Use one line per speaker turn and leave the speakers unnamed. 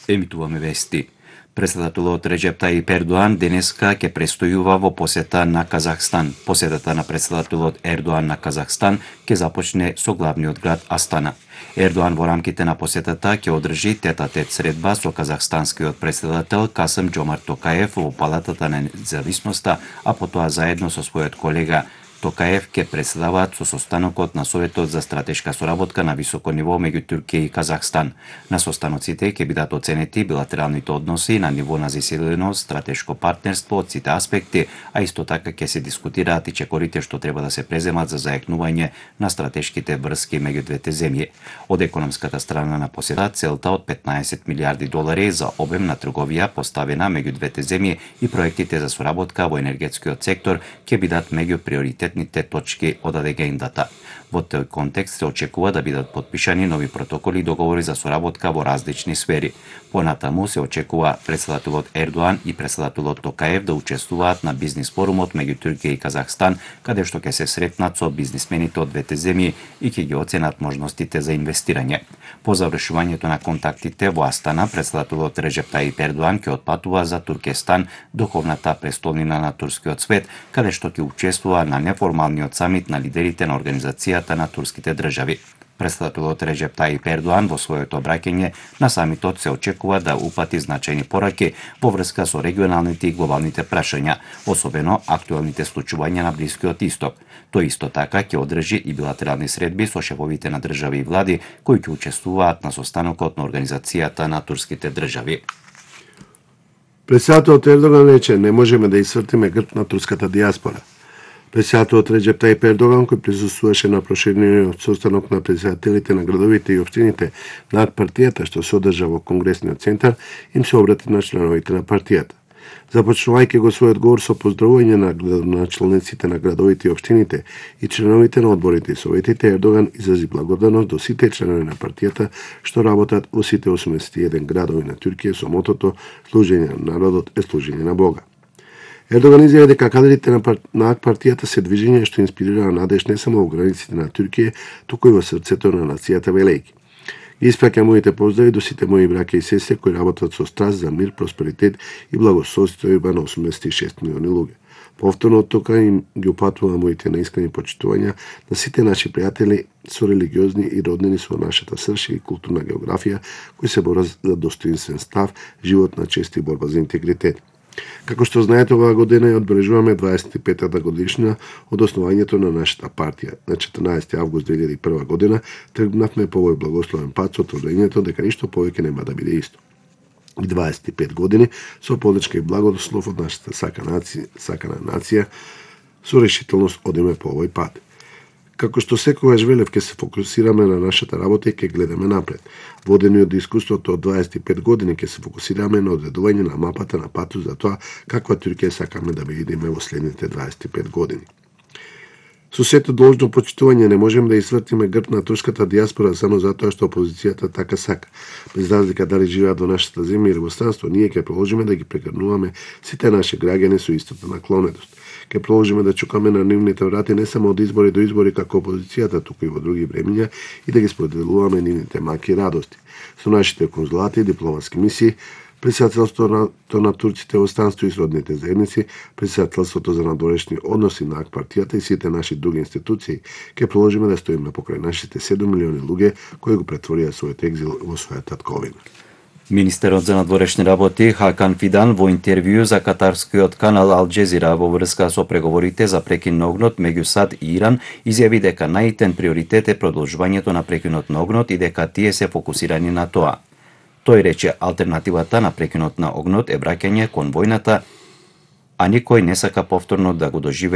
Емитуваме вести. Председателот Реджеп Тајип Ердоан денеска ќе престојува во посета на Казахстан. Посетата на председателот Ердоан на Казахстан ќе започне со главниот град Астана. Ердоан во рамките на посетата ќе одржи тет-а-тет средба со казахстанскиот председател Касим Џомарт Токаев во Палатата на независноста, а потоа заедно со својот колега Токаев ќе председаваат со состанокот на Советот за стратешка соработка на високо ниво меѓу Турција и Казахстан. На состаноците ќе бидат оценети билатералните односи на ниво на засилено стратешко партнерство од сите аспекти, а исто така ќе се дискутираат и чекорите што треба да се преземат за зајакнување на стратешките врски меѓу двете земји. Од економската страна на посета, целта од 15 милиарди долари за обем на трговија поставена меѓу двете земји и проектите за соработка во енергетскиот сектор ќе бидат меѓу приоритетните точки од агендата. Во тој контекст се очекува да бидат потпишани нови протоколи и договори за соработка во различни сфери. Понатаму се очекува председателот Ердоан и председателот Токаев да учествуваат на бизнис форумот меѓу Турција и Казахстан, каде што ќе се сретнат со бизнисмените од двете земји и ќе ги оценат можностите за инвестирање. По завршувањето на контактите во Астана, председателот Реджеп Тајип Ердоан ќе отпатува за Туркестан, духовната престолнина на турскиот свет, каде што ќе учествува на неформалниот самит на лидерите на Организацијата на турските држави. Председателот Реджеп Тајип Ердоан во своето обраќање на самитот се очекува да упати значајни пораки во врска со регионалните и глобалните прашања, особено актуелните случувања на Блискиот Исток. Тој исто така ќе одржи и билатерални средби со шефовите на држави и влади кои ќе учествуваат на состанокот на Организацијата на турските држави.
Председателот Ердоган рече: "Не можеме да исцртиме грб на турската дијаспора." Председателот Реджеп Тајип Ердоган, кој присуствуваше на проширениот состанок на председателите на градовите и општините на партијата што се одржа во Конгресниот центар, им се обрати на членовите на партијата. Започнувајќи го својот говор со поздравување на градоначалниците на градовите и општините и членовите на одборите и советите, Ердоган изрази благодарност до сите членови на партијата што работат во сите 81 градови на Турција со мотото "Служење на народот е служење на Бога". Ердоган изјави дека кадрите на ак партијата се движење што инспирира надеж не само во границите на Турција, туку и во срцето на нацијата велејки. Испраќам моите поздрави до сите мои браќа и сестри кои работат со страст за мир, просперитет и благосостојба на 86 милиони луѓе. Повторно од тука им ги упатувам моите наискрени почитувања на сите наши пријатели со религиозни и роднини со нашата срж и културна географија кои се борат за достоинствен став, живот на чест и борба за интегритет. Како што знаете, оваа година ја одбележуваме 25-та годишнина од основањето на нашата партија. На 14 август 2001 година тргнавме по овој благословен пат со тврдењето дека ништо повеќе нема да биде исто. И 25 години со подлечка и благослов од нашата сакана нација со решителност одиме по овој пат. Како што секогаш велев, ќе се фокусираме на нашата работа и ќе гледаме напред. Водени од искуството од 25 години, ќе се фокусираме на одредување на мапата на патот за тоа каква Турција сакаме да видиме во следните 25 години. Со сето должно почитување не можеме да исвртиме грб на турската дијаспора само затоа што опозицијата така сака. Без разлика дали живеат во нашата земја или во странство, ние ќе продолжиме да ги прегрнуваме сите наши граѓани со истата наклонетост. Ќе продолжиме да чукаме на нивните врати не само од избори до избори како опозицијата, туку и во други времиња и да ги споделуваме нивните маки и радости. Со нашите конзулати и дипломатски мисии, председателството на турците во странство и сродните заедници, председателството за надворешни односи на ак партијата и сите наши други институции, ќе продолжиме да стоиме покрај нашите 7 милиони луѓе кои го претворија својот екзил во своја татковина.
Министерот за надворешни работи Хакан Фидан во интервју за катарскиот канал Ал Џезира во врска со преговорите за прекин на огнот меѓу САД и Иран изјави дека најитен приоритет е продолжувањето на прекинот на огнот и дека тие се фокусирани на тоа. Тој рече алтернативата на прекинот на огнот е враќање кон војната, а никој не сака повторно да го доживее